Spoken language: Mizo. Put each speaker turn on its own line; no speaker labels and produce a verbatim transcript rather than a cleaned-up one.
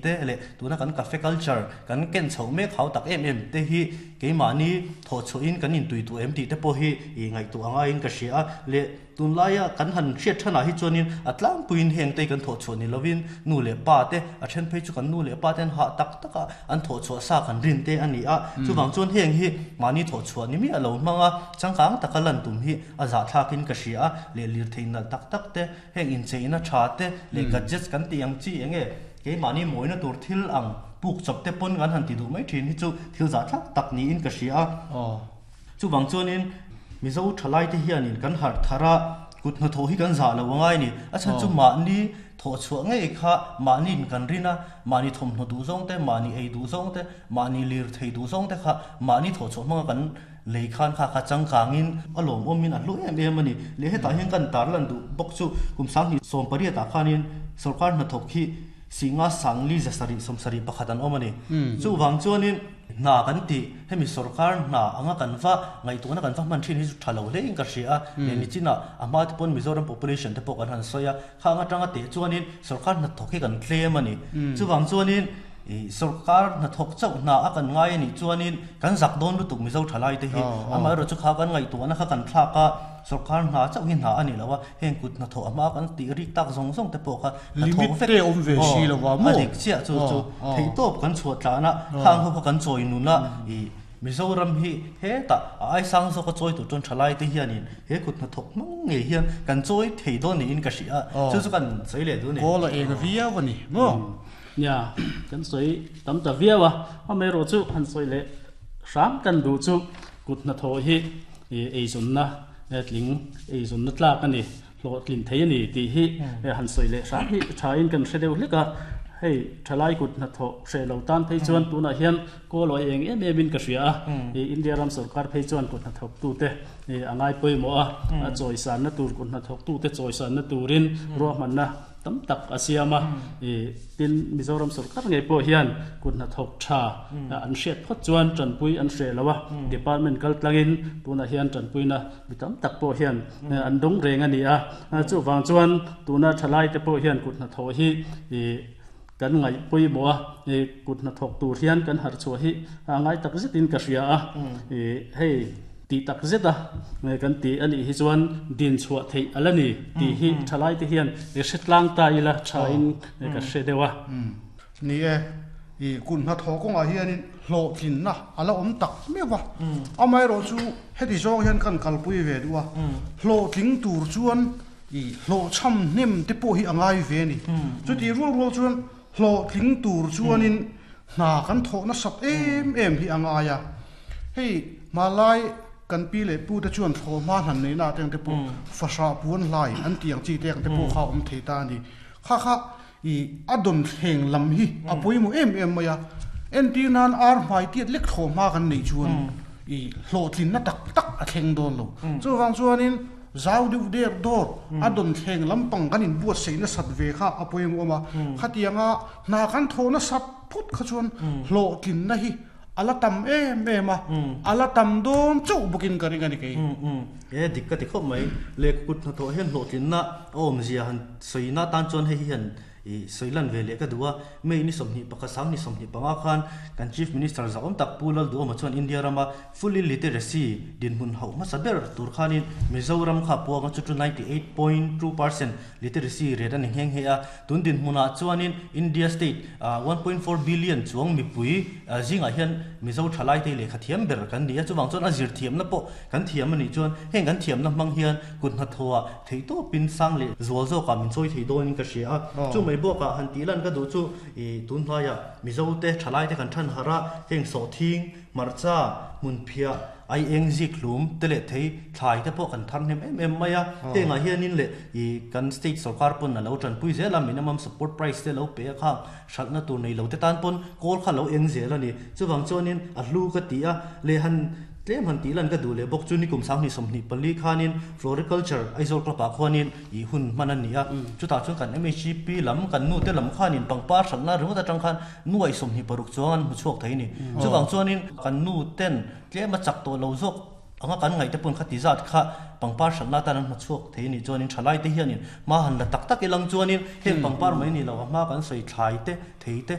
te le tuna kan cafe culture kan ken chho mek hau tak em em te hi keimahni thaw chhuahin kan intui tu em tih te pawh hi i ngaihtuah anga in ka hria a le tunlaia kan han hriat thanah hi chuanin a tlangpuiin heng te kan thawh chhuah ni lovin nu leh pa te a then phei chu kan nu leh pa ten hah tak taka an thawh chhuah sa kan rin te ani a chuwang chuan heng hi mahni thawh chhuah ni mi a lo hmanga changkang taka lan tum hi a zah thlakin ka hria a le lir theina tak tak te heng incheina tha te le gadgets kan ti ang chi enge keimahni mawina tur thil ang puk chawp te pawn kan han ti duh mai thin hi chu thil zah thlak tak niin ka hria a chuwang chuanin Mizo thalai te hianin kan har thara kut hna tho hi kan zah lo angai ni a chan chu mahni thaw chhuah ngei kha mahni in kan rina mahni thawmhnaw duh zawng te mahni ei duh zawng te mahni lir thei duh zawng te kha mahni thaw chhuah hmanga kan lei khan kha kha changkangin a lawm awmin a hlu em em ani le hetah hian kan tar lan duh bawk chu kum sang sawm pariat ah khanin sarkar hnathawk hi singa sangli zasari sawmsari pakhat an awm ani chu wang chuanin na kan ti hemi sarkar na anga kan va ngaihtuahna kan va hman thin hi chu tha lo hle in ka hria a le nichina a hma te pawn Mizoram population te pawh kan han sawi a khang atanga te chuanin sarkar hna thawk hi kan tlem ani chuwang chuanin i sarkar hna thawk chauh hna a kan ngai ani chuanin kan zak dawn lutuk Mizo thalai te hi ama ro chu kha kan ngaihtuahna kha kan thlak a sarkar hna chauh hi hna ani lo a heng kut hna thawh ama kan ti rik tak zawng zawng te pawh kha hna thawk
Limit
vek
te awm ve si lo wa maw?
a dik chiah chu chu thei tawp kan chhuah tlana khang ho kha kan chawi nuna i Mizoram hi heta a ai sang zo ka chawi tur chuan thalai te hianin he kut hna thawk mang nge hian kan chawi thei dawn niin ka hria chu chu kan sawi leh du ni
Kawl a eng viau ani maw
ya kan soi tam ta viawa a me ro chu han soi le hram kan du chu kut na tho hi e ei zun na e tling ei zun na tlak ani hlo tlin thei ani ti hi e han soi le hram hi tha in kan hre deuh hleka hei thalai kut na tho hre lo tan phei chuan tuna hian ko loi eng em em in ka hria a e India ram sarkar phei chuan kut na thok tu te e angai poi mo a a choi san na tur kut na thok tu te choi san na turin ro man na tam tak asiama e tin Mizoram sarkar ngei po hian kut na thok tha an hriat phot chuan tanpui an hre lawa department kal tlangin tuna hian tanpui na mi tam tak po hian an dong reng ani a chu wang chuan tuna thalai te po hian kut na tho hi e kan ngai pui mo a e kut na thok tur hian kan har chu hi a ngai tak zetin ka hria a e hei ti tak zeta kan ti ani hi chuan din chhuah thei alani ti hi thalai te hian e hretlang ta ila tha in ka hre dewa
ni e i kun hna tho konga hianin hlo tlin na ala awm tak mewa amai ro chu heti zawng hian kan kalpui ve duwa hlo tling tur chuan i hlo cham hnem te pawh hi angai ve ni chuti rual rual chuan hlo tling tur chuanin hna kan thawh na sat em em hi angai a hei malai kan pi le pu te chuan tho ma hnan nei na teng te pawh fasha puan lai an tiang chi teng te pawh kha awm thei ta ni kha kha i adon thleng lam hi a poimo em em maya en ti nan ar hmai tiat lek tho ma kan nei chuan i hlo tlin na tak tak a thleng dawn lo chu wang chuanin zau du der dor adon thleng lampang kan in buat sei na sat ve kha a poimo ma khatianga na kan tho na sat phut kha chuan hlo tlin na hi ala tam em em a ala tam dawn chauh bawkin ka ring ani kei
e dik ka ti khawp mai le kut hna thawh hian hlawh tlin na awm zia han sawi na tan chuan hei hian i sawilan ve leh ka duh a mei ni sawmhnih pakhat sang ni sawmhnih panga khan kan chief minister za awm tak pu lal duhawm chuan India rama fully literacy dinhmun hauh hmasa ber tur khanin Mizoram kha puanga chu chu ninety eight point two percent literacy rate ani ngheng he a tun dinhmunah chuanin India state one point four billion chuang mipui zingah hian Mizo thalai te lehkha thiam ber kan ni a chuwang chuan a zir thiam na pawh kan thiam ani chuan heng kan thiam na hmang hian kut hna thawah thei tawpin sang leh zual zawkah min chawi thei dawnin ka hria a chu mai bawkah han tih lan ka duh chu i tun hnuaia Mizo te thalai te kan than hara heng sawh thing marcha hmun phiah ai eng zik hlum te leh thei thlai te pawh kan thar hnem em em mai a hengah hianin leh i kan state sarkar pawn a lo tanpui zel a minimum support price te lo pe a khang hralhna tur nei lo te tan pawn kawl kha lo eng zel ani chuwang chuanin a hlu ka ti a leh han tlem han tih lan ka duh leh bawk chu ni kum sang ni sawmhnih pali khanin floriculture Aizawl club ah khuanin i hun hman ani a chutah chuan kan M H P lam kan nu te lam khanin pangpar hralhna ringawt atang khan nuai sawmhnih paruk chuang an hmu chhuak thei ni chuwang chuanin kan nu ten tlem a chak tawh lo zawk anga kan ngaih te pawn kha ti zat kha pangpar hralhna tan an hmu chhuak thei ni chuanin thalai te hianin ma han la tak tak ilang chuanin heng pangpar mai ni lo a hma kan sawi thlai te thei te.